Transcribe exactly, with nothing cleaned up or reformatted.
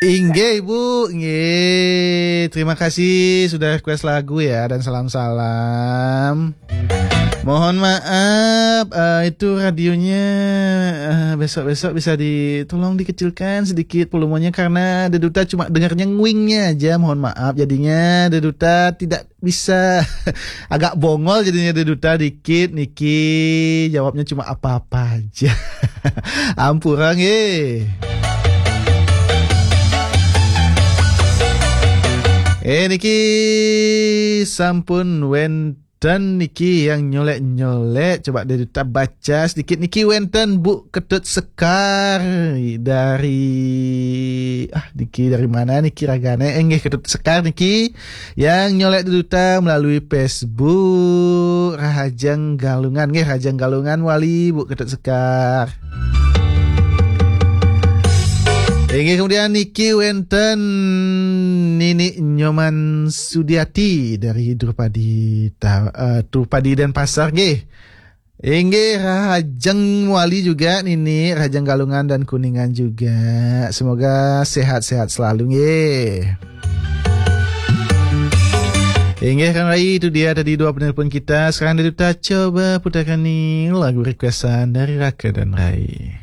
Inggih, Ibu. Nggih, terima kasih sudah request lagu ya, dan salam-salam. Mohon maaf, eh, itu radionya, eh, besok-besok bisa ditolong dikecilkan sedikit volumenya karena Deduta cuma dengarnya nguingnya aja. Mohon maaf, jadinya Deduta tidak bisa agak bongol jadinya Deduta dikit niki. Jawabnya cuma apa-apa aja. Ampura nggih. Eh, niki sampun wenten niki yang nyolek-nyolek. Coba Deduta baca sedikit niki, wenten Bu Ketut Sekar dari, ah, niki dari mana niki ragane? Eh, nggih, Ketut Sekar niki yang nyolek Deduta melalui Facebook. Rahajeng Galungan nggih, Rahajeng Galungan wali Bu Ketut Sekar. Inggih, kemudian niki wenten Nini Nyoman Sudiati dari Drupadi Ta-, eh, Drupadi Denpasar nggih. Inggih, Rahajeng wali juga Nini, Rahajeng Galungan dan Kuningan juga. Semoga sehat-sehat selalu nggih. Inggih, Kang Rai, itu dia tadi dua penelpon kita. Sekarang Deduta coba putarkan nih lagu requestan dari Raka dan Rai.